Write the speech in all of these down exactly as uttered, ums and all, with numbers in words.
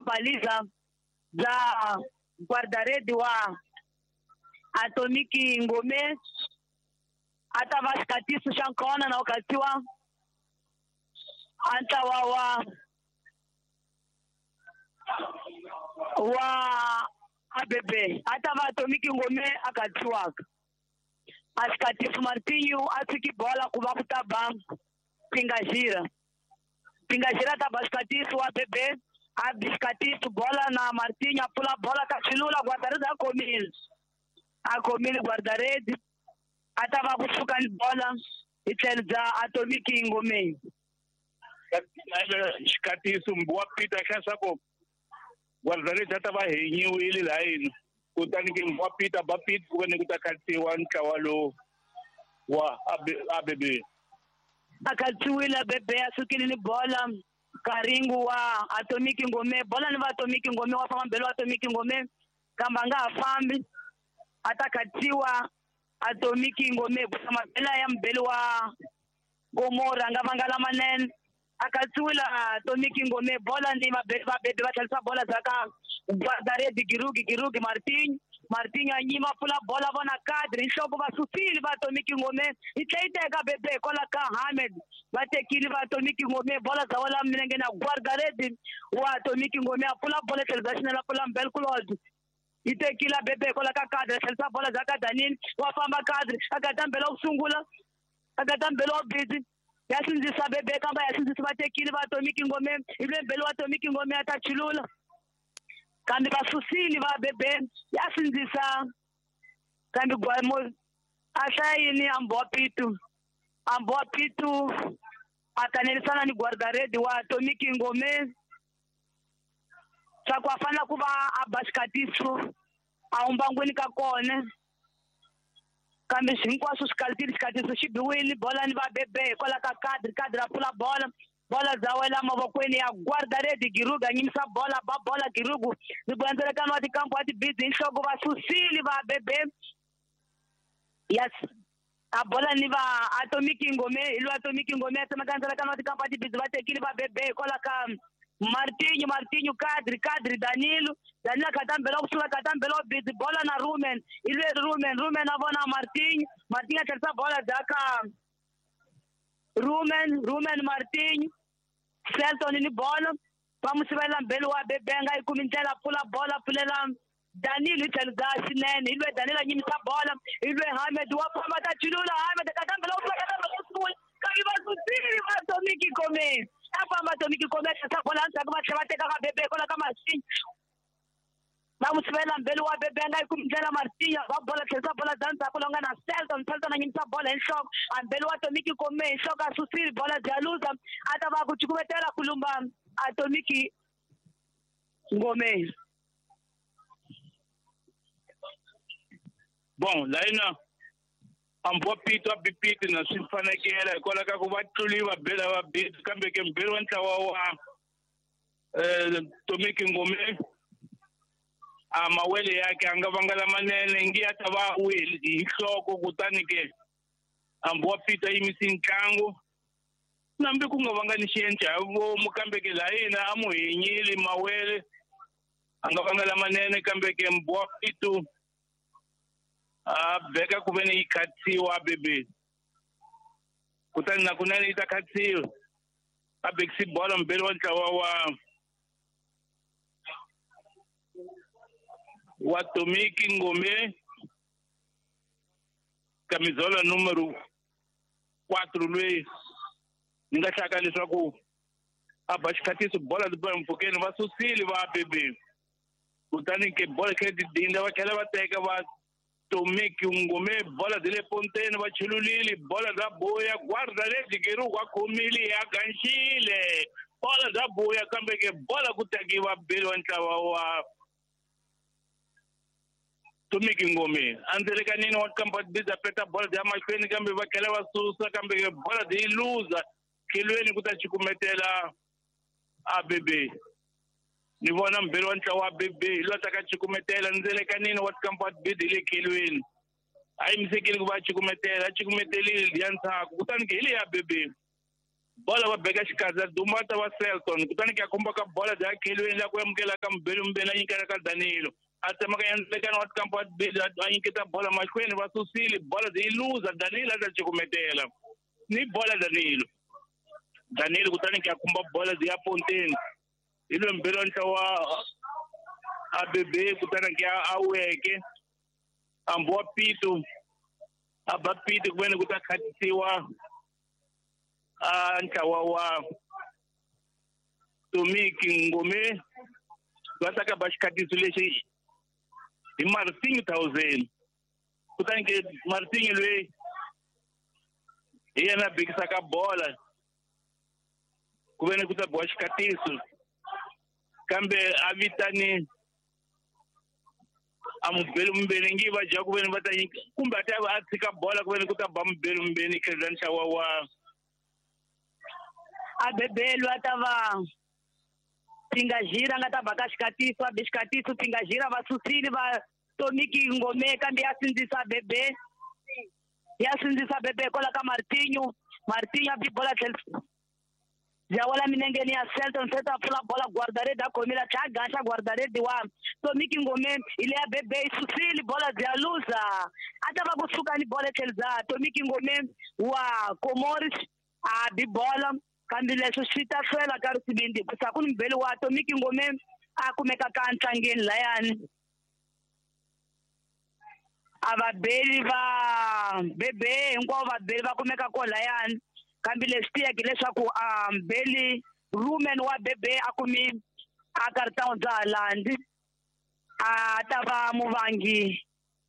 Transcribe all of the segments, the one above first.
baliza bya guardarede wa Atomiki Ngome a ta va xikatiso xa nkona na ukatiwa a ntlawa wa wa A B B a ta va Atomiki Ngome a katsiwaka a xikatiso Martinho a tshiki bola ku va ku ta ba Pingajira Pingajira ta ba xikatiso wa B B a xikatiso bola na Martinho a pfula bola ka xilula guardarede a khomile a khomile guardarede a ta va kusuka ni bola hi tlhelo bya Atomiki Ngome xikatiso wa Peter xa swa ku guardarede a ta va henyiwile layini kutani ke wa Peter ba Peter ku ve ni ku ta khatsiwa ntlawa lowu wa A B B a khatsiwile A B B a sukile ni bola Karingu wa Atomiki Ngome bola ni va Atomiki Ngome wa famba mbele wa Atomiki Ngome kambe a nga ha fambi a ta khatsiwa Atomiki Ngome ku mabela ya mbele wa Gomora nga vanga lamanene a khatsiwile Atomiki Ngome bola ni va bebe va tlherisa bola za ka guardarede Girugi Girugi Martinho Martinho a nyima pfula bola vona kadri nhloko va susile va Atomiki Ngome yi tlhe yi teka bebe kwala ka Hamed va tekile va Atomiki Ngome bola za wala milenge na guardarede wa Atomiki Ngome a pfula bola tlhelo bya xinene a pfula mbele Claude yi tekile bebe kwala ka kadri a tlherisa bola za ka Danini wa famba kadri a gata mbele wa ku sungula a gata mbele wa busy ya sindzisa bebe kamba ya sindzisa va tekile va Atomiki Ngome hi lwe mbele wa Atomiki Ngome a ta chulula kambe va susile va bebe ya sindzisa kambe gwamo a hlayini amboa Pitu amboa Pitu a kanerisana ni guardarede wa Atomiki Ngome swa ku a fanela ku va a ba xikatiso a humbangwini ka kona kambe hinkwaswo swi kalitile xikatiso xi biwile bola ni va bebe hikwalaho ka kadri kadri a pfula bola bola za wela mavokweni ya guardarede Girugu a nyimisa bola ba bola Girugu ni ku wa tikampo wa tibidzi hi nhloko va susile va bebe yes a bola ni va Atomiki Ngome hi lwa Atomiki Ngome a tsemaka ndzelekano wa tikampo wa tibidzi va tekile va bebe hikwalaho ka Martinho Martinho kadri kadri Danilo Danilo akatambela kusuka akatambela busy bola na Rumen ilwe Rumen Rumen a vona Martinho Martinho a tlherisa bola za ka Rumen Rumen Martinho Selton ni bola va n'wi sivela mbele wa bebe a nga yi kumi ndlela pfula bola pfulela Danilo hi tlhelo bya xinene hi lwe Danilo a nyimisa bola hi lwe Hamed wa famba ta chulula Hamed akatambela kusuka akatambela kusungula kambe va susile va Atomiki Ngome a famba Atomiki Ngome a tlherisa bola endzhaku va tlhela va teka ka bebe kwala ka Martinho va n'wi sivela mbele wa bebe a nga yi kumi ndlela Martinho va bola tlherisa bola bya ndzhaku lowu nga na Selton Selton a nyimisa bola hi nhloko a mbele wa Atomiki Ngome hi nhloko a susile bola bya luza a ta va ku cukumetela ku lumba Atomiki Ngome bon layina amboa Pitu a bipiti na swi fanekela hikwalaho ka ku va tluliwa bela va bit kambe ke mbirhi wa ntlawa wa eh Atomiki Ngome a mawele yake a nga vanga lamanene ngi ya ta va wile hi nhloko kutani ke amboa Pitu a yimisi ntlangu nambi ku nga vanga ni xiendla hi vomu kambe ke layina a mu henyile mawele a nga vanga lamanene kambe ke mboa Pitu a beka ku ve ni yi khatsiwa bebe kutani na kunene yi ta khatsiwa a bekisi bola mbele wa ntlawa wa wa Atomiki Ngome camisola número quatro loyi ni nga hlaka leswaku a ba xikatiso bola ti mpfhukeni va susile va bebe kutani ke bola khe ti dinda va tlhela va teka va Atomiki Ngome bola de le ponteni va chululile bola bya boya guardarede Girugu a khomile ya ganxile bola bya boya kambe ke bola ku tekiwa bele wa ntlawa wa Atomiki Ngome a ndzelekanini wa kampa biza peta bola bya mahlweni kambe va tlhela va susa kambe ke bola byi luza tlhelweni ku ta cukumetela A B B ni vona mbirhi wa ntlawa wa B B hi loyi a ta ka cukumetela ndzelekanini wa tikampa bidi hi le khelweni a yimisekile ku va a cukumetela a cukumetelile liya ndzhaku kutani ke hi leya B B Bola va beka xikandza Dumata wa Selton kutani ke a khumba ka bola bya khelweni la ku amukela ka Mbelu Mbele a nyikela ka Danilo a tsemaka endlekana wa tikampa a nyiketa bola mahlweni va susile bola yi luza Danilo a ta cukumetela ni bola Danilo Danilo kutani ke a khumba bola bya ponteni hi loyi Mbelu wa A B B kutani ke a weke ambuwa Pito a ba Pito ku veni ku ta khatisiwa a ntlawa wa Tomiki Ngome va ta ka ba xikhatiso lexi hi Martinho thousand kutani ke Martinho loyi hi yena bekisaka bola ku veni ku ta biwa xikhatiso kambe a vitani a mubeli Mbeni ngi va dya ku veni va ta nyika kumbe a ta a tshika bola ku veni ku ta ba Mubeli Mbeni tlhela ntlawa wa a bebelwa ta va Pingajira nga ta ba ka xikatiso a be xikatiso Pingajira va susile va Tomiki Ngome kambe ya sindzisa bebe ya sindzisa bebe kwala ka Martinho Martinho a bi bola tlhela ya wala minengeni ya Selton Selton a pfula bola guardarede a khomile a tlhela a gaxa guardarede wa Tomiki Ngome ile ya bebe yi susile bola bya luza a ta va kusuka ni bola tlhela bya Tomiki Ngome wa Comoros a bi bola kambe leswi swi ta hlwela ka risivindi hikusa ku ni mubeli wa Tomiki Ngome a kumeka ka ntlangeni layani a vabeli va bebe hinkwavo vabeli va kumeka ko layani kambe leswi tiyeke leswaku a mbeli Rumen wa bebe a kumi a karhi bya Holandi a ta va muvangi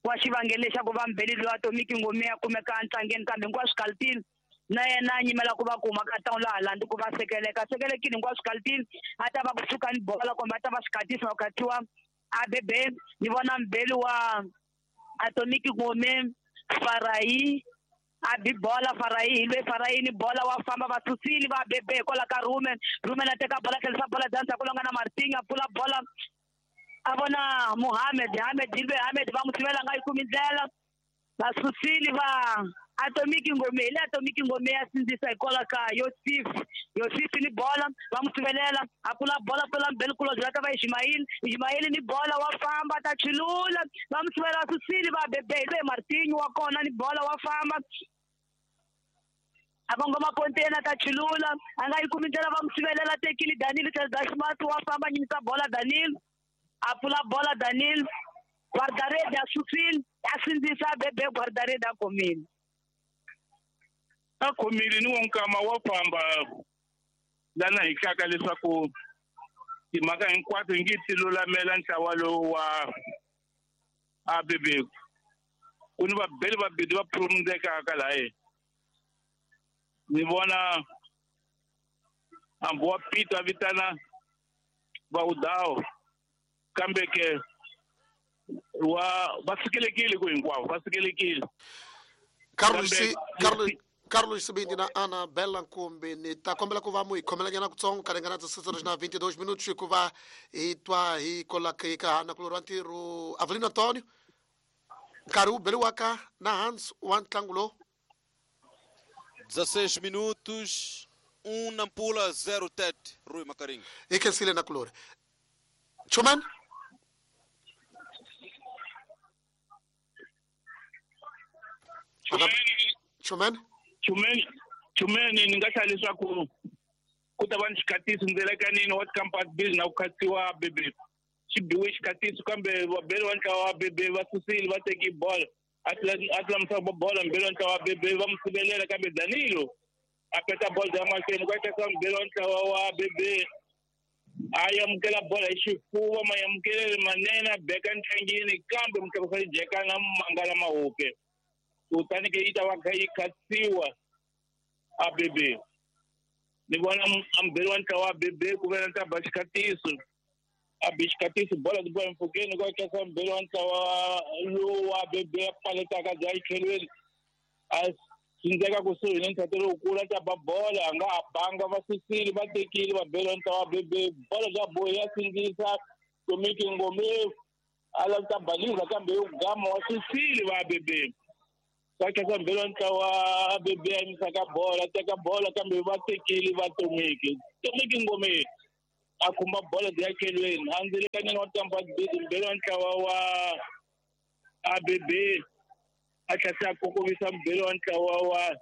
wa xivangelo lexaku va mbeli loyi a Tomiki Ngome a kumeka ntlangeni kambe hinkwaswo kaltini na yena a nyimela ku va kuma ka tawula Holandi ku va sekeleka sekelekile hinkwaswo kaltini a ta va kusuka ni bola kumbe a ta va xikhatisa ku khatiwa a bebe ni vona mbeli wa Atomiki Ngome Farai a bi bola Farai hi loyi Farai ni bola wa famba va susile va bebe kwala ka Rumen Rumen a teka bola tlherisa bola bya ndzhaku longa na Martinho a pfula bola a vona Mohamed Hamed hi loyi Hamed va n'wi sivela nga yi kumi ndlela va susile va Atomiki Ngome hi le Atomiki Ngome ya sindzisa hikwalaho ka Yosif Yosif ni bola va n'wi sivelela a pfula bola pfula mbeli kulobye va ta va Ismail Ismail ni bola wa famba ta chulula va n'wi sivela susile va bebe hi loyi Martinho wa kona ni bola wa famba a kongoma ponteni ta chulula a nga yi kumi ndlela va n'wi sivelela tekile Danilo Tlhela wa famba nyimisa bola Danilo a pfula bola Danilo guardarede a susile a sindzisa bebe guardarede a khomile a khomile ni wonkama wa famba lana hi hlaka leswaku timhaka hinkwato hi nge ti lulamela ntlawa lowu wa A B B ku ni vabeli vabedi va phurumundekaka laye ni vona hambi wa Pito a vitana Vaudawo kambe ke wa va sikelekile ku hinkwavo va sikelekile Carlos Carlos Carlos Sibindi na Ana Bela Nkumbi ni ta kombela ku va mu hi khomelanyana kutsongo ka ringana dezesseis na vinte e dois minutos hikuva hi twa hi kolaka na kulorwa ntirho Avelino Antonio nkarhi wu beliwaka na Hans wa ntlangu lowu dezesseis minutos um Nampula zero Tete Rui Makaringa hi khensile na kulori Chuman Chuman Chumeni Chumeni ni nga hlaya leswaku ku ta va ni xikhatiso ndzelekanini wa tikampas bill na ku khatiwa bebe xi biwe xikhatiso kambe vabeli wa ntlawa wa bebe va susile va teki bola a tlamusa bola mbeli wa ntlawa wa bebe va n'wi sivelela kambe Danilo a peta bola ya mahlweni ku etesa mbeli wa ntlawa wa bebe a amukela bola hi xifuva mayamukelele manene a beka ntlangini kambe mutlakusa jeka na mangala mahupe kutani ke yi ta va kha yi khatiwa A B B ni vona ambeli wa ntlawa wa B B ku ve na ta ba xikhatiso a bi xikhatiso bola ti bola mpfhukeni ku akesa mbeli wa ntlawa lowu wa B B a paletaka bya yitlhelweni a sindzeka kusuhi ni ntlhato lowukulu a ta ba bola a nga ha banga va susile va tekile va beli wa ntlawa wa B B bola bya bohi ya sindzisa Tomiki Ngome a lava ta baliza kambe yo gama wa susile va B B Va khensa mbhelo wa ntlawa A B B a yimisaka bola, teka bola kambe va tekile va Tomiki. Tomiki Ngome a khumba bola ya kelweni. A ndzilekanyana wa Tampa Bid mbhelo wa ntlawa wa A B B a tlhela a kokovisa mbhelo wa ntlawa wa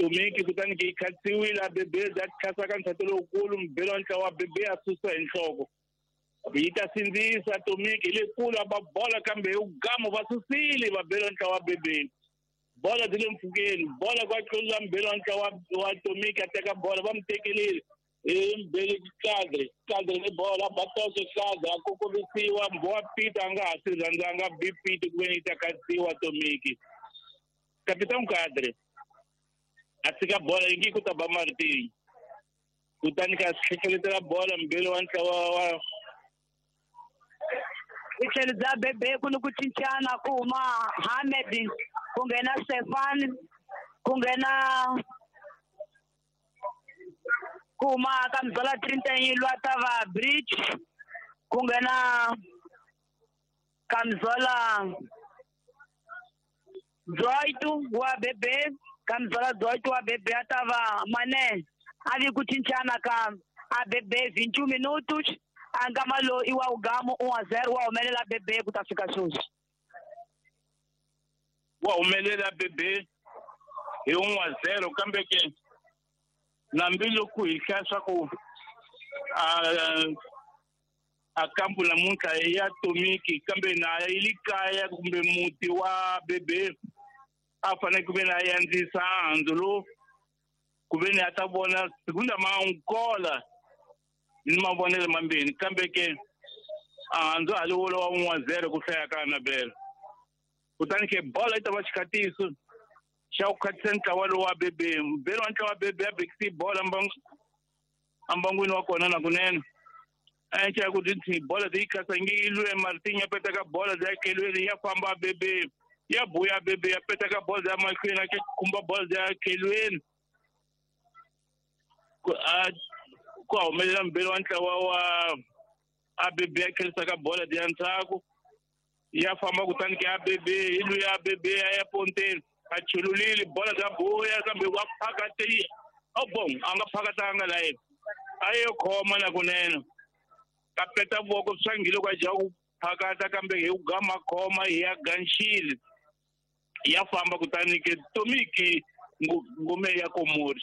Tomiki kutani ke yi khatsiwile A B B ya khasa ka ntshato lowukulu mbhelo wa ntlawa wa A B B a susa hi nhloko. Yi ta sindzisa Tomiki hi le kule a ba bola kambe hi gamo va susile va bela ntlawa wa B B. Bola byi le mpfhukeni, bola kwa tlula mbhelo wa ntlawa wa Tomiki a teka bola va mu tekelile hi mbhele kadre, kadre ni bola ba toxe kadre a kokovisiwa Mbowa Peter a nga ha swi rhandzanga B Peter ku ve ni yi ta katsiwa Tomiki. Capitão Kadre a tshika bola yi nge ku ta ba Martin. Kutani ka hlekeletela bola mbhelo wa ntlawa wa hi tlhelo bya B B ku ni ku cincana ku huma Hamed ku nghena Stefan ku nghena ku huma ka Mzola trinta e um lwa ta va Bridge ku nghena ka Mzola dezoito wa B B ka Mzola dezoito wa B B a ta va Mané a vi ku cincana ka A B B vinte e um minutos a nkama lowu i wa Ugamo um a zero wa humelela B B ku ta fika sweswi. Wa humelela B B hi um a zero kambe ke nambi loko hi hlaya swa ku a a kampu namuntlha ya Tomiki kambe na yi le kaya kumbe muti wa B B a fanele ku ve ni a yandzisa handzu lowu ku ve ni a ta vona segunda mankola ni mavonelo mambirhi kambe ke a handzu a li wolo wa um a zero ku hlaya ka Annabelle. Kutani ke bola yi ta va xikhatiso xa ku khatisa ntlawa lowu wa B B. Mbhelo wa ntlawa wa B B a bekisi bola ambangwini wa kona na kunene. A enca ku ti bola ti yi khasa nge yi lwe Martin ya petaka bola ya kelweni ya famba B B ya buya B B ya petaka bola ya mahlweni a khumba bola ya kelweni. Ku a ku humelela mbhelo wa ntlawa wa A B B ya khelisaka bola ya ndzhaku ya famba kutani ke A B B hi lwi ya A B B ya ya ponteni a chululile bola ya buya kambe wa phakati oh bon a nga phakatanga la yena a yo khoma na kunene ka peta voko swa ngile kwa ja ku phakata kambe hi ku gama khoma hi ya ganxile ya famba kutani ke Tomiki Ngome ya Komori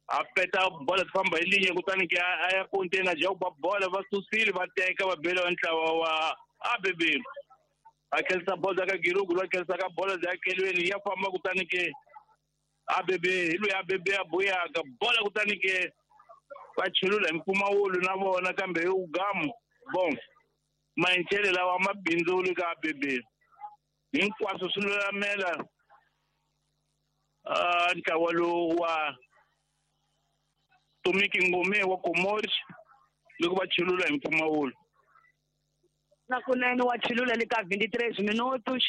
a peta bola ti famba hi linye kutani ke a ya ponteni a ja ku ba bola va susile va teka va bela ntlawa wa A B B a khelisa bola ka Girugu lwa khelisa ka bola ya kelweni ya famba kutani ke A B B hi lwi A B B ya buyaka bola kutani ke va chulula hi mpfumawulo na vona kambe hi ugamu bon maenchele lawa ma bindzuli ka A B B hinkwaswo swi lulamela a ntlawa lowu wa Tomiki Ngome wa Komori loko va chulula hi mpfumawulo. Na kunene wa chulula le ka vinte e três minutos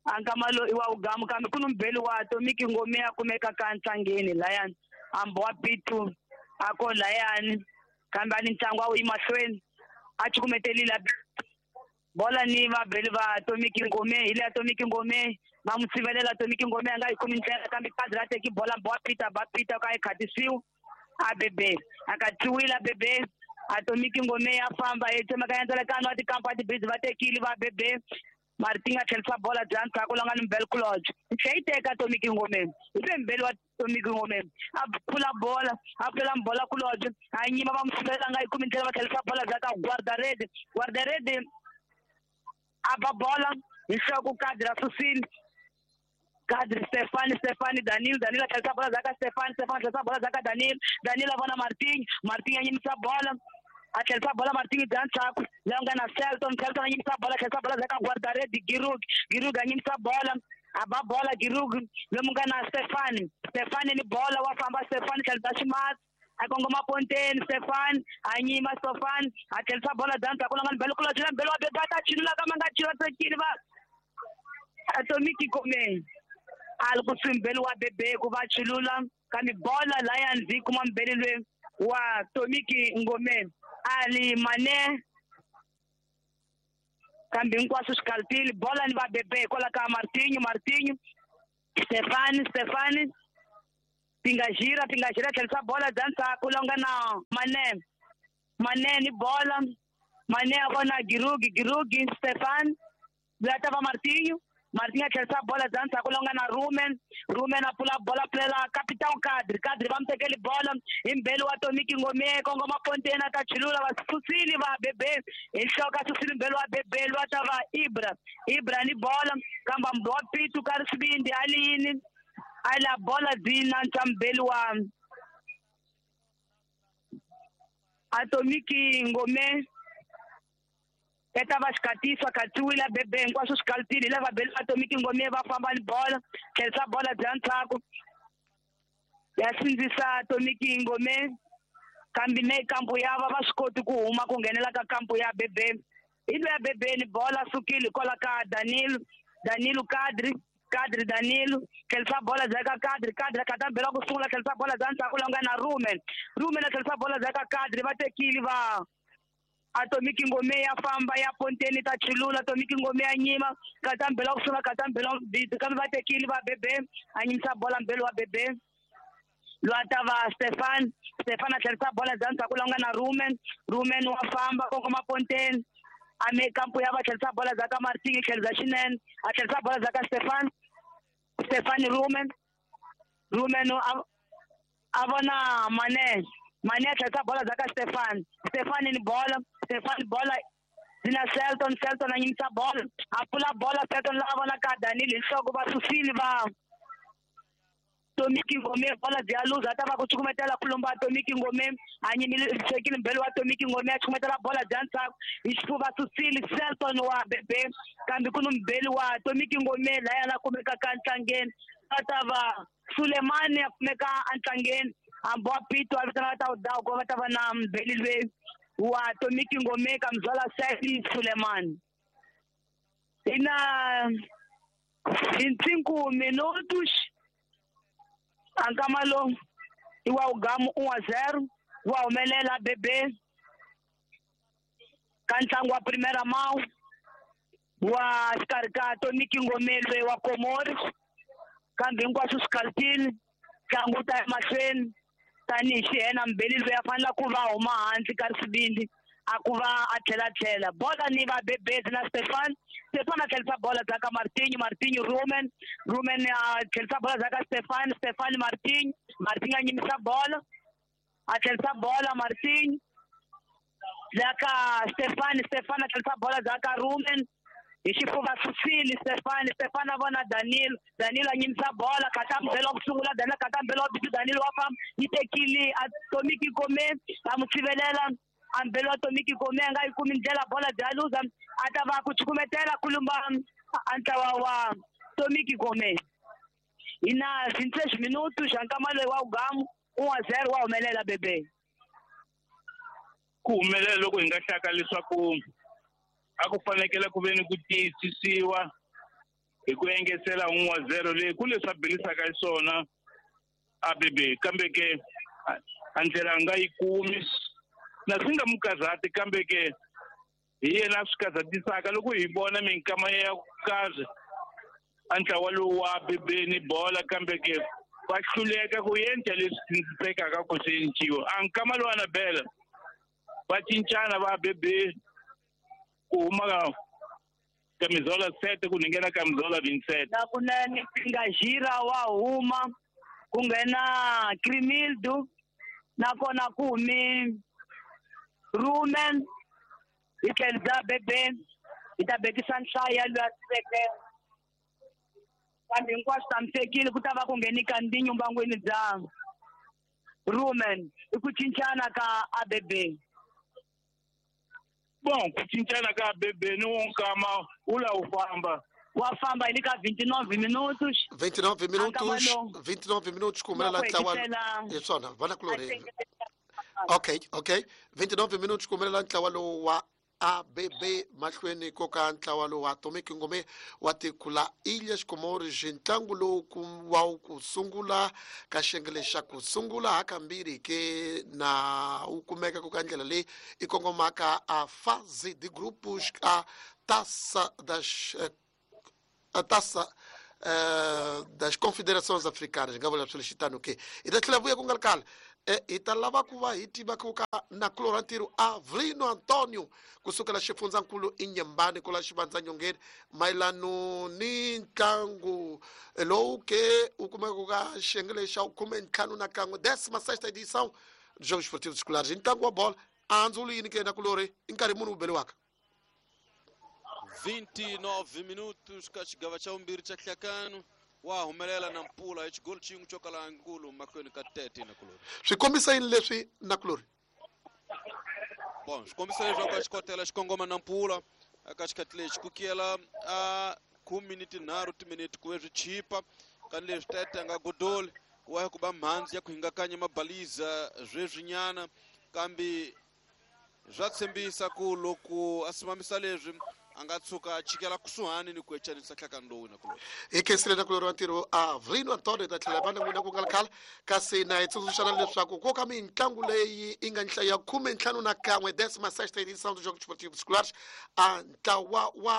a nkama lowu i wa Ugamo kambe ku ni mbhelo wa Tomiki Ngome a kumeka ka ntlangeni layani hambi wa Pitu a ko layani kambe a ni ntlangu a wu yi mahlweni a cukumetelile bola ni vabeli va Tomiki Ngome hi le ya Tomiki Ngome va n'wi sivelela Tomiki Ngome a nga yi kumi ndlela kambe kadzi ra teki bola mbo wa Peter ba Peter ka yi khatisiwa A B B a katsiwile A B B Atomiki Ngome ya famba yi tsemaka ya ndzelekano wa tikampa tibizi va tekile va B B Martin a tlherisa bola bya ndzhaku la nga ni Mbel Kulodge yi tlhela yi teka Atomiki Ngome hi ve mbeli wa Atomiki Ngome a pfula bola a pfula bola Kulodge a nyima va n'wi sivelela nga yi kumi ndlela va tlherisa bola bya ka Guardarede Guardarede a ba bola hi nhloko kadi ra susile Kadri Stefani Stefani Danilo Danilo a tlherisa bola bya ka Stefani Stefani tlherisa bola bya ka Danilo Danilo a vona Martin Martin a nyimisa bola a tlherisa bola Martin bya ndzhaku laha nga na Selton Selton a nyimisa bola tlherisa bola bya ka Guardarede Girug Girug a nyimisa bola a ba bola Girug lomu nga na Stefani Stefani ni bola wa famba Stefani tlherisa ximatsi a kongoma ponteni Stefani a nyima Stefani a tlherisa bola bya ndzhaku la nga ni Mbelo Kulodge la Mbelo wa Bebe a ta chulula kambe a nga chula tekile va Atomiki Ngome a li kusuhi mbeli wa Bebe ku va chulula kambe bola laya ndzi kuma mbeli lwe wa Tomiki Ngome a li Mane Kambe hinkwaswo swi kaltile bola ni va bebe hikwalaho ka Martinho Martinho Stefani Stefani Pingajira Pingajira tlherisa bola bya ndzhaku la nga na Mane Mane ni bola Mane a vona Girugi Girugi Stefan loyi a ta va Martinho Martinho a tlherisa bola bya ndzhaku la nga na Rumen Rumen a pfula bola pfulela Capitão Kadri Kadri va mu tekeli bola hi mbeli wa Tomiki Ngome kongoma ponteni a ta chulula va susile va bebe hi nhloko a susile mbeli wa bebe loyi a ta va Ibra Ibra ni bola kamba wa Pitu ka risibindi a liyini a la bola dzina ntsa mbeli wa Atomiki Ngome eta va xikatisa khatsiwile bebe hinkwaswo swi kaltile lava beli Atomiki Ngome va famba ni bola tlherisa bola bya ndzhaku ya sindzisa Atomiki Ngome kambe ne kampu ya va va swi koti ku huma ku nghenela ka kampu ya bebe hi loyi ya bebe ni bola sukile hikwalaho ka Danilo Danilo Kadri Kadri Danilo tlherisa bola bya ka Kadri Kadri a mbela ku sungula tlherisa bola bya ndzhaku la nga na Rumen Rumen a tlherisa bola bya ka Kadri va tekile va Atomiki Ngome ya famba ya ponteni ta chulula Atomiki Ngome ya nyima kata mbela ku sungula kata mbela kambe va tekile va bebe a nyimisa bola mbelo wa bebe loyi a ta va Stefan Stefan a tlherisa bola bya ndzhaku la nga na Rumen Rumen wa famba kongoma ponteni a me kampu ya va tlherisa bola bya ka Martinho tlherisa xinene a tlherisa bola bya ka Stefan Stefan Rumen Rumen a vona Mane Mane a tlherisa bola bya ka Stefan Stefan ni bola Stefan bola zina Selton Selton a nyimisa bola a pfula bola Selton la vona ka Danilo hi nhloko va susile va Tomiki Ngome bola bya luza ta va ku cukumetela ku lomba Tomiki Ngome a nyimile sekile mbelo wa Tomiki Ngome a cukumetela bola bya ndzhaku hi xifuva susile Selton wa bebe kambe ku ni mbeli wa Tomiki Ngome laya la kumekaka ntlangeni a ta va Sulemani a kumeka entlangeni hambi wa Pito a vitana ta udawu ku va ta va na mbeli loyi wa Tomiki Ngome ka mzala Saidi Sulemani ina vinte e cinco minutos ankama lowu i wa ugamu um a zero wa humelela bebe ka ntlangu wa primeira mão wa xikarhi ka Tomiki Ngome loyi wa Komori kambe hinkwaswo swi kaltile ntlangu wu ta emahlweni tanihi xihena mbeli loyi a fanele ku va huma hansi ka risibindi a ku va a tlhela tlhela bola ni va bebezi na Stefan Stefan a tlherisa bola bya ka Martinho Martinho Rumen Rumen a tlherisa bola bya ka Stefan Stefan Martinho Martinho a nyimisa bola a tlherisa bola Martinho bya ka Stefan Stefan a tlherisa bola bya ka Rumen hi xifuva susile Stefan Stefan a vona Danilo Danilo a nyimisa bola kata mbelo wa ku sungula Danilo kata mbelo wa bitu Danilo wa famba yi tekile Atomiki Ngome va mu tshivelela ambelo wa Tomiki Ngome a nga yi kumi ndlela bola bya luza a ta va ku cukumetela ku lumba a ntlawa wa Tomiki Ngome hi na vinte e seis minutos nkama loyi wa ugamu um a zero wa humelela bebe ku humelela loko hi nga hlaka leswaku a ku fanekele ku ve ni ku tiyisisiwa hi ku engetela un wa zero leyi ku leswi a belisaka xiswona a bebe kambe ke a ndlela a nga yi kumi na swi nga mu karhati kambe ke hi yena a swi karhatisaka loko hi vona minkama ya ku karhi a ntlawa lowu wa bebeni bola kambe ke va hluleka ku endla leswi sindzisekaka ku swi enciwa a nkama lowu a bela va cincana va bebe ku huma camisola sete ku nghena camisola vinte e sete na kunene Pingajira wa huma ku nghena Crimildo nakona ku humi Rumen hi tlhelo bya bebe hi ta bekisa nhlayo ya loyi a siveke kambe hinkwaswo tshamisekile ku ta va ku ngheni Kandinyo mbangwini bya Rumen i ku cincana ka A B B. Bon, ku cincana ka A B B ni wo nkama wu la wu famba. Wa famba hi le ka vinte e nove minutos. vinte e nove minutos. Ankama vinte e nove minutos ku humelela Wa ku ntlawa hetisela- hi swona vanakulorhi. Okay, okay, vinte e nove minutos ku humelela ntlawa lowu wa A B B mahlweni ko ka ntlawa lowu wa Atomic Ngome wa tiko la Ilhas Comores. Ntlangu lowu ku wa ku sungula ka xiyenge lexa ku sungula hakambirhi ke na wu kumeka ku ka ndlela leyi i kongomaka a fase de grupos a Taça das a Taça uh, das Confederações Africanas nga vula swilo ke hi ta tlhela vuya ku nga ri khale hi ta lava ku va hi tiva ku ka na Clorantiro Avrino Antonio kusukela xifundzankulu Inyembani kula Xivandzanyongeni mayelano ni ntlangu lowu ke u kumeka ka xiyenge xa khume ntlhanu na kan'we décima sexta edição dos Jogos Esportivos Escolares ntlangu wa bola a ndzi wulu yini ke na kulori i nkarhi muni wu beliwaka vinte e nove minutos ka xigava xa vumbirhi xa hlakano wa humelela na mpula hi xigolo xin'we xo kala nkulu mahlweni ka tete na kulori swi kombisa yini leswi na kulori bon swi kombisa leswaku a xikotela xi kongoma na mpula eka xikhathi lexi ku kiyela a khume ni tinharhu timinete ku ve swi chipa kani leswi tete a nga godoli ku wa ku ba mhandzi ya ku hingakanya mabaliza sweswinyana kambe swa tshembisa ku loko a simamisa leswi a nga tshuka a chikela kusuhani ni ku echanisa nhlakano lowu na kulori hi khensile na kulori wa ntirho Avrino Antonio hi ta tlhela va na n'wina ku nga ri khale kasi na hi tsundzuxana leswaku ko ka mitlangu leyi yi nga nhlayo ya khume ntlhanu na kan'we décima sexta edição dos Jogos Esportivos Escolares a ntlawa wa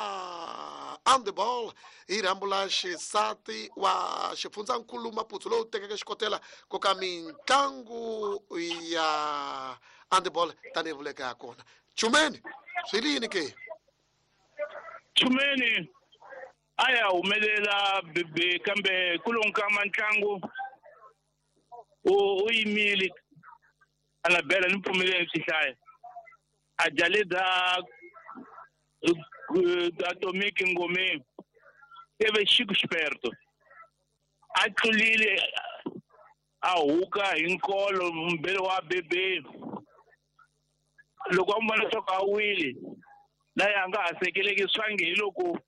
handball hi rhambu la xisati wa xifundzankulu Maputo lowu tekeke xikotela ko ka mitlangu ya handball tanihi vuleka ya kona Chumeni swi li yini ke Chumeni a ya humelela bebe kambe ku lonkama ntlangu u yimile a nga bela ni pfumeleni swi hlaya a jaleda Atomic Ngome teve Chico Esperto a tlulile a huka hi nkolo mbele wa bebe loko a n'wi vona leswaku a wile na ya nga ha sekeleki swange hi loko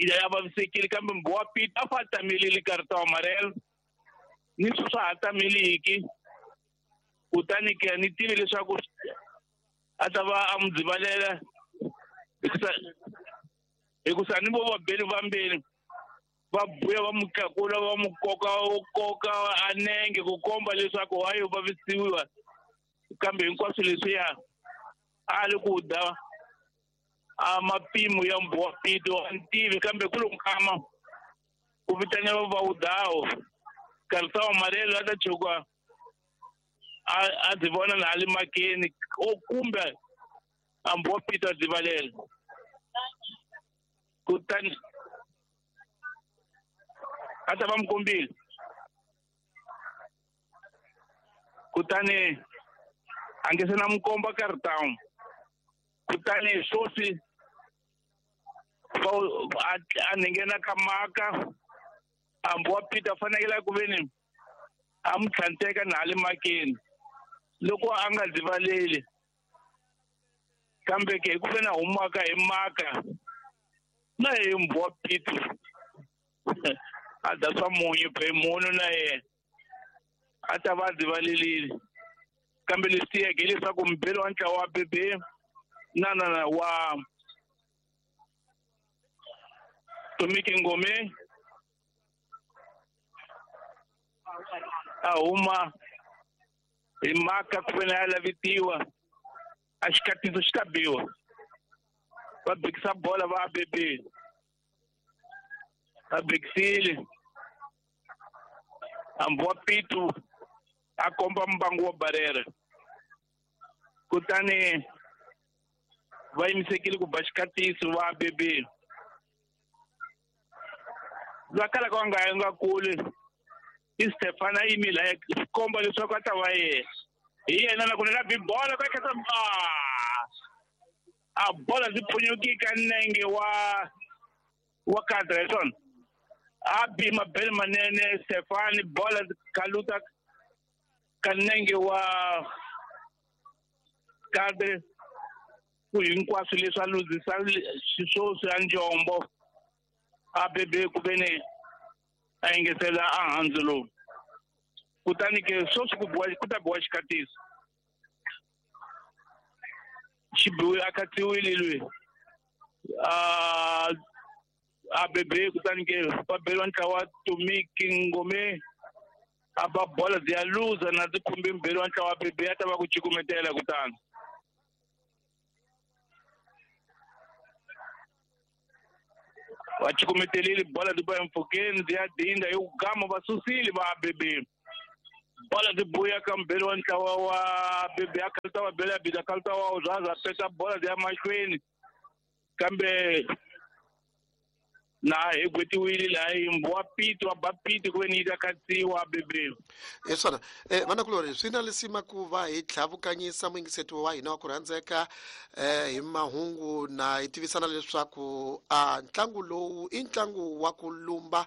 ya vavisekile kambe mbo wa Pete a fa tamelile karata wa amarelo ni swi swa ha tameliki kutani ke ni tivi leswaku a ta va a n'wi dzivalela hikusa hikusa ni vo vabeli vambirhi va buya va n'wi tlakula va n'wi koka koka a nenge ku komba leswaku hayi u vavisiwa kambe hinkwaswo leswiya a li ku da a mapimo ya mbo wa Pete a ni tivi kambe ku lo nkama ku vitaniwa va wudawo karata wa amarelo a ta tshuka a a dzi vona na le makeni o kumbe a mbo wa Pete a dzivalela kutani a ta va n'wi kombile kutani a nge se na n'wi komba karata kutani swoswi a nghena ka maka a mbo wa Pete a fanekele ku veni a n'wi tlhanteka na le makeni loko a nga dzivaleli kambe ke hi ku veni a humaka hi maka na hi mbo wa Pete a da swa munyu phe munhu na yena a ta va a dzivalelile kambe leswi tiyeke hileswaku mbeli wa ntlawa wa bebe na na na wa Atomic Ngome a huma hi maka ku veni a lavitiwa a xikatiso xi ta biwa va bikisa bola va bebe va bikisile a mbo wa Pete a komba mbangu wa barere kutani va yimisekile ku ba xikatiso va bebe va kala ka nga nga kule i Stefan a yimile a komba leswaku a ta va yena hi yena na ku ni la bi bola ka khetsa a bola ndzi phunyuki ka nenge wa wa kadra hi swona a bi mabele manene Stefan bola kaluta ka nenge wa kadre ku hinkwaswo leswi a luzisa xiswoswi ya njombo a bebe ku veni a engetela a handzu lowu kutani ke swoswi ku biwa ku ta biwa xikatiso xi biwe a khatsiwile lweyi a a bebe kutani ke va beriwa ntlawa wa Atomic Ngome a ba bola byi ya luza na ndzi khumbi mbeli wa ntlawa wa bebe a ta va ku cukumetela kutani Va cukumetelile bola ti ba empfhukeni ti ya dinda hi ku gama va susile va A B B. Bola ti buya ka mbirhi wa ntlawa wa A B B a khalita va bela bida khalita wa Zaza peta bola ti ya mahlweni kambe na hi gwetiwile laha yimbo wa pito wa ba pito ku ve ni yi ta khatsiwa A B B. Hi swona eh vanakulori swi na lisima ku va hi tlhavukanyisa muyingiseti wa hina wa ku rhandzeka eh hi mahungu na hi tivisana leswaku a ntlangu lowu i ntlangu wa ku lumba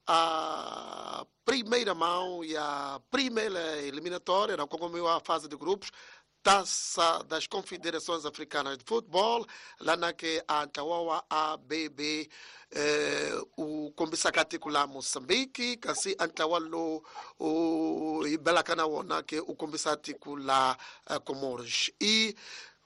a primeira mão ya primeira eliminatória na kongomiwa fase de grupos Taça das Confederações Africanas de Futebol, lá na que a ntlawa wa A B B eh, u kombisaka tiko la Moçambique, kasi a ntlawa lowu u hi belaka na wona ke u kombisa tiko la eh, Comores. E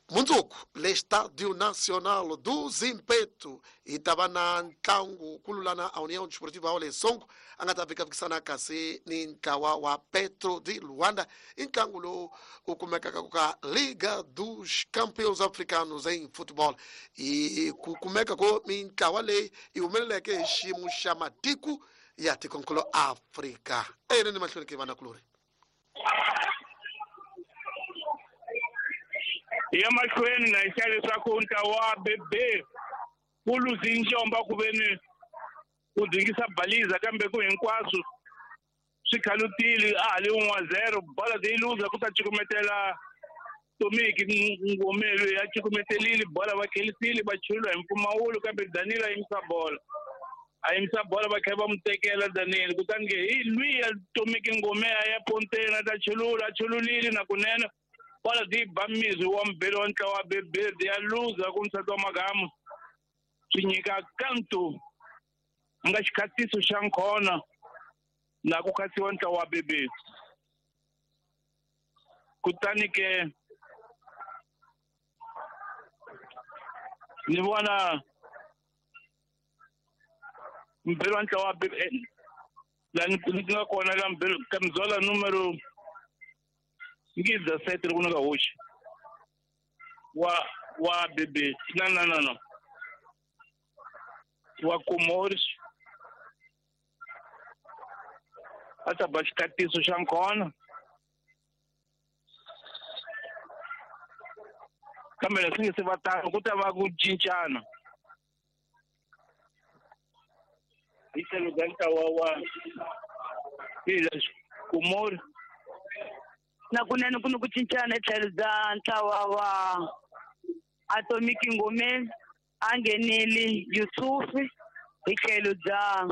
mundzuku le Estádio Nacional do Zimpeto hi ta va na ntlangu kululana a União Desportiva wa le Songo a nga ta fikafikisana kasi ni ntlawa wa Petro de Luanda i ntlangu lowu u kumekaka ka Liga dos Campeões Africanos em Futebol i ku kumeka ko mintlawa leyi yi humeleleke hi xiyimo xa matiko ya tikonkulu Afrika eyinene mahlweni ke vanakulori. Ya mahlweni na xa leswaku ntlawa wa A B B wu luzi njomba ku ve ni ku dingisa baliza kambe ku hinkwaswo swi khalutile a ha li un'we zero bola yi luza ku ta cukumetela Tomiki Ngomelo ya cukumetelile bola va khelisile va chulula hi mpfumawulo kambe Danilo a yimisa bola a yimisa bola va kha va n'wi tekela Danilo kutani ke hi lwiya Tomiki Ngome a ya ponteni a ta chulula a chululile na kunene bola ti ba mizi wa mbirhi wa ntlawa wa B B ya luza ku nsati wa magamu swi nyika kanto nga xikhatiso xa nkhona na ku khasiwa ntlawa wa B B. Kutani ke ni vona mbirhi wa ntlawa wa B B la ni nga kona la mbirhi camisola numero ngi dezessete loko ni nga hoxi wa wa B B na na na na wa Comores a ta ba xikatiso xa nkhona kambe leswi nge se va tano ku ta va ku cincana hi tlhelo ka ntlawa wa hi leswi Comores na kunene ku ni ku cincana etlhelo bya ntlawa wa Atomic Ngome a nghenile Yusufi hi tlhelo bya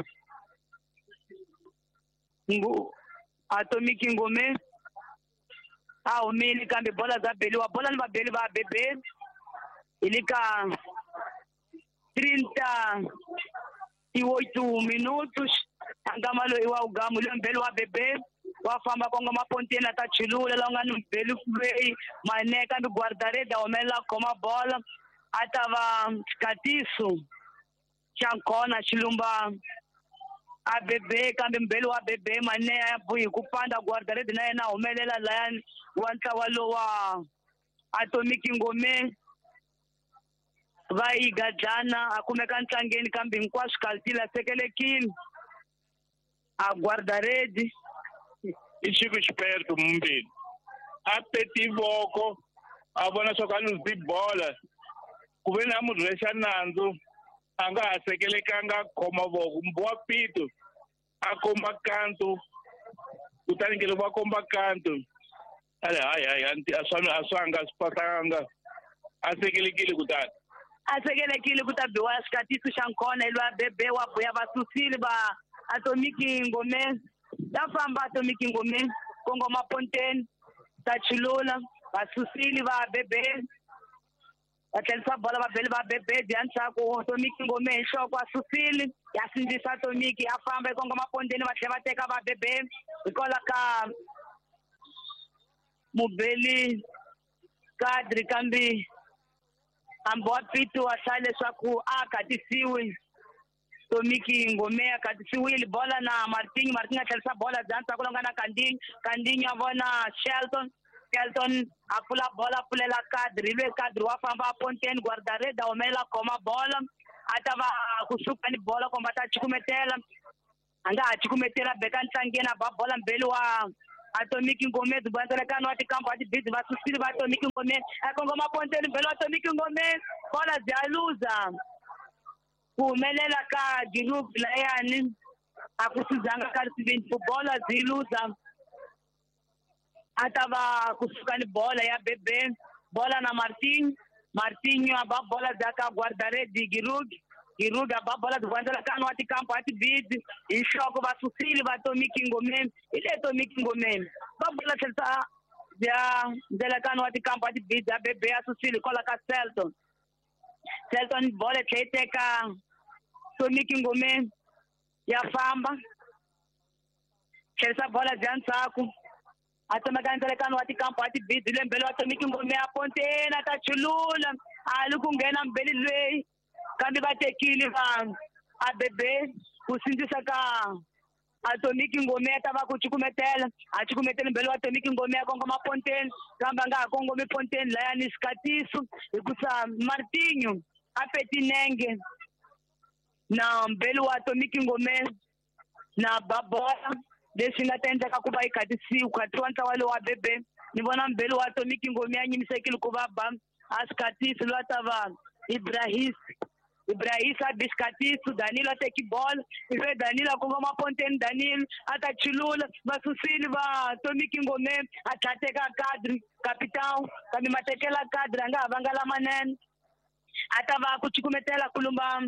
Atomic Ngome a humile kambe bola bya beliwa bola ni vabeli va B B hi le ka trinta e oito minutos a nkama loyi wa ugamu loyi mbeli wa B B wa famba kongoma ponteni a ta chulula la nga ni mbeli lweyi mane kambe guardareda humelela khoma bola a ta va xikatiso xa nkhona xilumba A B B kambe mbeli wa B B mane ya buyi ku panda guardareda na yena humelela layani wa ntlawa lowa Atomic Ngome va yi gadlana a kumeka ntlangeni kambe hinkwaswo kaltila sekelekile a guardaredi i Chico Esperto mumbili a peti voko a vona swa ku a luzi bola ku ve ni a mu rhwexa nandzu a nga ha sekelekanga khoma voko mbo wa pito a komba kanto kutani ke loko va komba kanto a le hayi hayi a swa a swanga a swi pasanga a sekelekile kutani a sekelekile ku ta biwa xikatiso xa nkhona hi lwa bebe wa buya va susile va Atomic Ngome ta famba Atomic Ngome kongoma ponteni ta chulula va susile va B B va tlherisa bola va beli va B B ya ndzhaku Atomic Ngome hi nhloko a susile ya sindzisa Atomic a famba hi kongoma ponteni va tlhela va teka va B B hikwalaho ka mubeli kadri kambe hambi wa pito wa hlaya leswaku a khatisiwi Tomiki Ngome a khatisiwile bola na Martin Martin a tlherisa bola bya ndzhaku la nga na Kandinyi Kandinyi a vona Shelton Shelton a pfula bola a pfulela kadri lwe kadri wa famba a ponteni guardareda humelela khoma bola A ta va kusuka ni bola komba ta cukumetela. A nga ha cukumetela beka ntlangeni a ba bola mbeli wa Atomic Ngome dzubanzelekano wa tikampo a tibizi va susile va Atomic Ngome a kongoma ponteni mbeli wa Atomic Ngome bola bya luza ku humelela ka Giroud layani a ku sizanga ka risivini bola byi luza a ta va kusuka ni bola ya Bebe bola na Martin Martinho a ba bola bya ka guardaredi Giroud Giroud a ba bola dzubanzelekano wa tikampo a tibizi hi nhloko va susile va Atomic Ngome hi le Atomic Ngome va bola tlherisa bya ndzelekano wa tikampo a tibizi a Bebe a susile kwala ka Selton Selton bola yi tlhe yi teka Atomic Ngome ya famba tlherisa bola bya ndzhaku a tsemeka ndzelekano wa tikampo a tibizi le mbeli wa Atomic Ngome a ponteni a ta chulula a li ku nghena mbeli lweyi kambe va tekile va a Bebe ku sindzisa ka Atomic Ngome a ta va ku cukumetela a cukumetela mbeli wa Atomic Ngome a kongoma ponteni kambe a nga ha kongomi ponteni layani xikatiso hikusa Martinho a petinenge na mbeli wa Atomic Ngome na babola leswi nga ta endleka ku va yi khatisiwa khatiwa ntlawa lowu wa Bebe ni vona mbeli wa Atomic Ngome a nyimisekile ku va ba a xikatiso loyi a ta va Ibrahis Ibrahis a bi xikatiso Danilo a teki bola ive Danilo a kongoma ponteni Danilo a ta chulula va susile va Atomic Ngome a tlhateka kadri capitão kambe matekela kadri a nga ha vanga lamanene a ta va ku cukumetela kulumba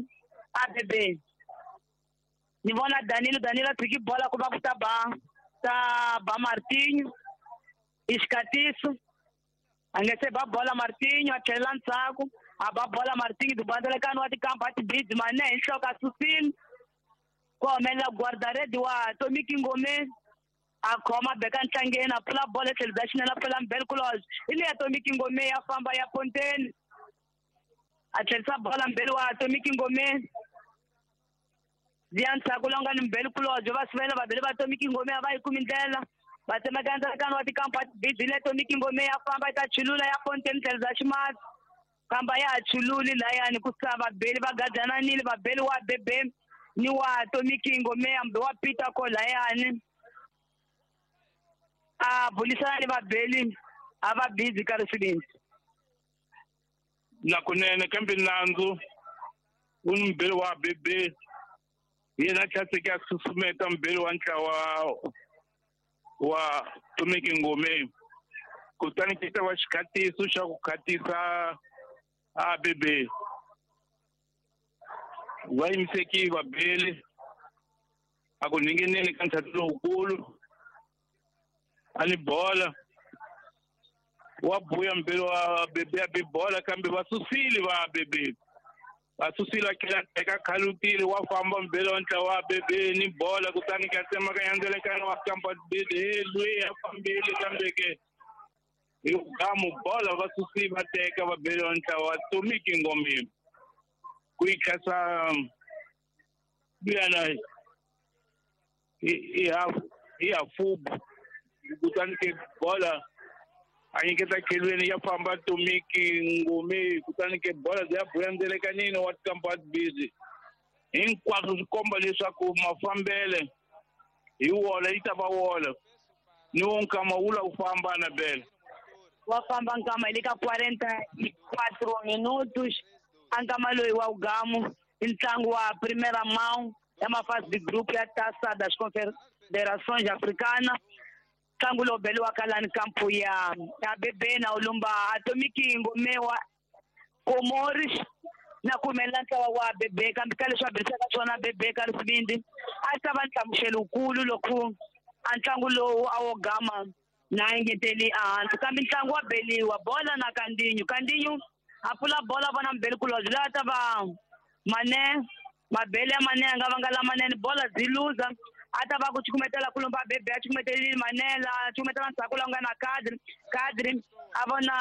a Bebe ni vona Danilo Danilo a tshiki bola ku va ku ta ba ta ba Martinho i xikatiso a nge se ba bola Martinho a tlhelela ndzhaku a ba bola Martinho dubandzelekano wa tikampo a tibizi mane hi nhloko a susile ku humelela guardaredi wa Atomic Ngome a khoma beka ntlangeni a pfula bola etlhelo bya xinene a pfula mbeli kulozo hi leyi Atomic Ngome ya famba ya ponteni a tlherisa bola mbeli wa Atomic Ngome bya ndzhaku longa ni mbeli kulozo va sivela vabeli va Atomic Ngome a va yi kumi ndlela va tsemeka ndzelekano wa tikampo a tibizi le Atomic Ngome ya famba yi ta chulula ya ponteni tlhelo bya ximatsi kamba ya ha chululi layani ku sa vabeli va gadananile vabeli wa Bebe ni wa Atomic Ngome hambi wa Peter ko layani a bulisana ni vabeli a va busy ka risivini na kunene kambe nandzu wu ni mbeli wa Bebe yena tlhaseke a susumeta mbeli wa ntlawa wa Atomic Ngome kutani ki ta va xikhatiso xa ku khatisa a Bebe va yimiseki vabeli a ku ninginini ka ntlhatu lowukulu a ni bola wa buya mbeli wa Bebe a bi bola kambe va susile va Bebe va susile a tlhela teka khalutile wa famba mbeli wa ntlawa wa Bebe ni bola kutani ka tsemaka yandzelekana wa kampa Bebe he lweyi a fambile kambe ke hi gamu bola va susile va teka va beli wa ntlawa wa Atomic Ngome ku yi khasa luyana hi hafu hi hafubu kutani ke bola a nyiketa khelweni ya famba Atomic Ngome kutani ke bola ya buya ndzelekanini wa tikampo a tibizi hinkwaswo swi komba leswaku mafambele hi wola yi ta va wola ni wo nkama wu la wu famba na bele wa famba nkama hi le ka quarenta e quatro minutos a nkama loyi wa ugamu i ntlangu wa primeira mão ya mafase de grupo ya Taça das Confederações Africanas ntlangu lowu beliwaka lani kampo ya ya Bebe na ulumba Atomic Ngome wa Comores na ku humelela ntlawa wa Bebe kambe ka leswi va berisaka swona Bebe ka risivindi a ta va nhlamuselo wukulu loko a ntlangu lowu a wo gama na engeteli ehansi kambe ntlangu wa beliwa bola na Kandinho Kandinho a pfula bola vona mbeli kulozo loyi a ta va mane mabele ya mane a nga vanga lamanene bola byi luza a ta va ku cukumetela kulumba Bebe a cukumetelile manela a cukumetela ndzhaku la nga na Kadri Kadri a vona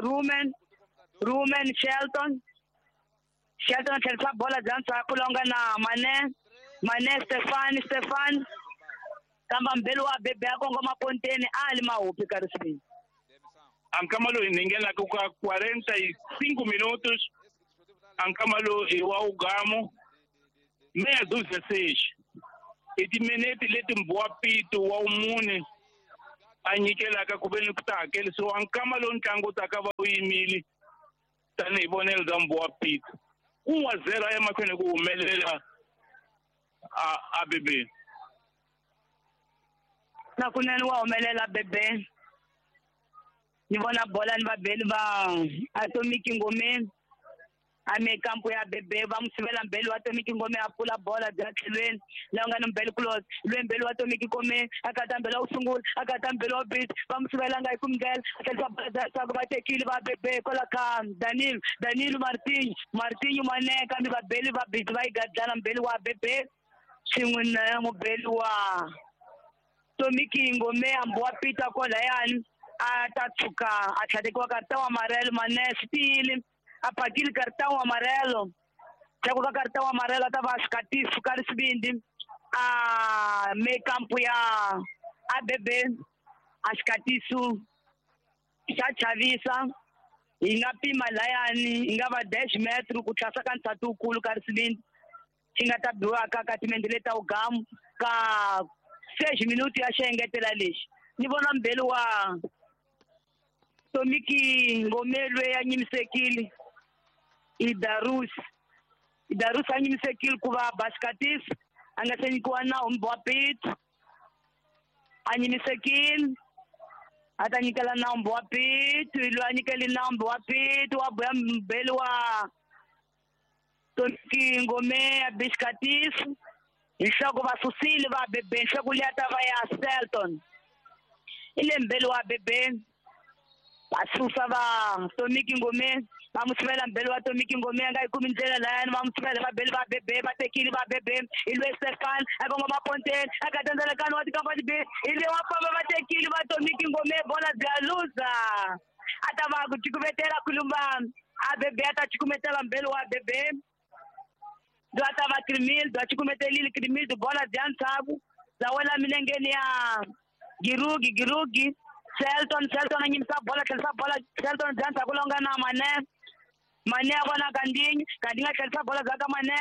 Rumen Rumen Shelton Shelton a tlherisa bola bya ndzhaku la nga na Mane Mane Stefan Stefan kamba mbeli wa Bebe a kongoma ponteni a li mahupi ka risivini a nkama loyi ni nghenaka ka quarenta e cinco minutos A nkama lowu i wa ugamu meia dúzia seis i timinete leti Mbowa Pito wa wumune a nyikelaka ku ve ni ku ta hakelisiwa nkama lowu ntlangu wu taka va wu yimile tanihi vonelo bya Mbowa Pito un wa zero a ya mahlweni ku humelela a a B B. Na kunene wa humelela bebe. Ni vona bola ni vabeli va Atomic Ngome ame kampo ya bebe va n'wi sivela mbeli wa Atomic Ngome a pfula bola bya tlhelweni laha nga ni mbeli kulos lwe mbeli wa Atomic Ngome a kata mbeli wa ku sungula a kata mbeli wa bit va n'wi sivela nga yi kumi ndlela a tlhelisa bola bya swaku va tekile va bebe kwala ka Danilo Danilo Martinho Martinho Mane kambe vabeli va bit va yi gadlana mbeli wa bebe swin'we na mubeli wa Tomiki Ngome ambowa Peter kwalayani a ta tshuka a tlhatekiwa cartão amarelo Mane swi tiyile a pakile cartão amarelo ndzhaku ka cartão amarelo a ta va xikatiso ka risivindi a me kampo ya A B B a xikatiso xa chavisa hi nga pima layani hi nga va dash metro ku tlhasa ka nsati wukulu ka risivindi xi nga ta biwaka ka timende leti ta wugamu ka seis minuto ya xengetela lexi ni vona mbeli wa Tomiki Ngome lwe a nyimisekile i Darus Darus a nyimisekile ku va baskatis a nga se nyikiwa nawu Mbowa Pito a nyimisekile a ta nyikela nawu Mbowa Pito loyi a nyikeli nawu Mbowa Pito wa boya mbeli wa Tomiki Ngome a biskatis nhloko va susile va bebe nhloko liya ta va ya Selton i le mbeli wa bebe va susa va Tomiki Ngome va n'wi sivela mbeli wa Tomiki Ngome a nga yi kumi ndlela layani va n'wi sivela vabeli va bebe va tekile va bebe i lwe Stefan a kongoma ponteni a ka tandzelekani wa tikamba tibi i le wa famba va tekile va Tomiki Ngome bola bya luza a ta va ku cukumetela kulumba a bebe a ta cukumetela mbeli wa bebe bya ta va Crimil bya cukumetelile Crimil bola bya ntshaku bya wela milengeni ya Girugi Girugi Selton Selton a nyimisa bola tlhelisa bola Selton bya ndzhaku lowu nga na Mane Mane a vona Kandinyi Kandinyi a tlhelisa bola bya ka Mane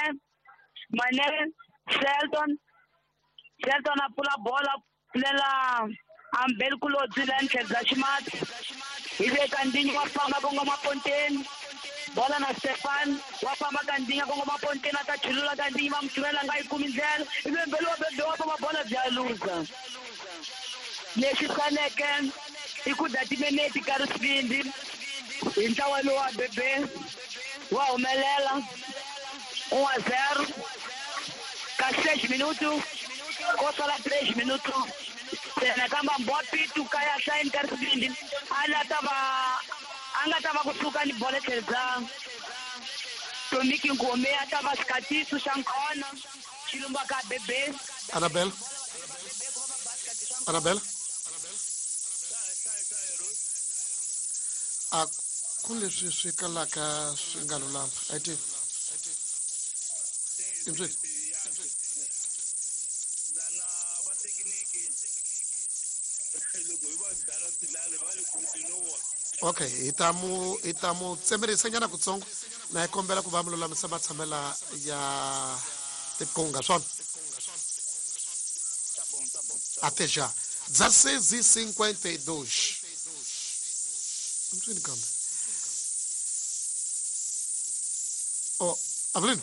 Mane Selton Selton a pfula bola pfulela ambeli kulodzi la tlhelo bya ximatsi hi le Kandinyi wa famba kongoma ponteni bola na Stefan wa famba Kandinyi kongoma ponteni a ta chulula Kandinyi va n'wi sivela nga yi kumi ndlela ivi mbeli wa bebe wa famba bola bya luza lexi saleke i ku dya timinete ka risivindi hi ntlawa lowu wa bebe wa humelela un a zero ka seis minuto ko sala três minuto ntsena kamba Mbowa Pito ka ya hlayeni ka risivindi a la ta va a nga ta va kusuka ni bola tlhelo bya Tomiki Ngome a ta va xikatiso xa nkona xi lumba ka bebe. Anabel Anabel a ku leswi swi kalaka swi nga lulama a yi tivi imswi lana va thekiniki loko hi va dala swilale va ri continua. Okay, hi ta mu hi ta mu tsemerisa nyana kutsongo na hi kombela ku va mu lulamisa matshamela ya tikunga swona. Tá bom, tá bom. Até já. dezesseis e cinquenta e dois. Mtswini kambe. Oh, Avelino.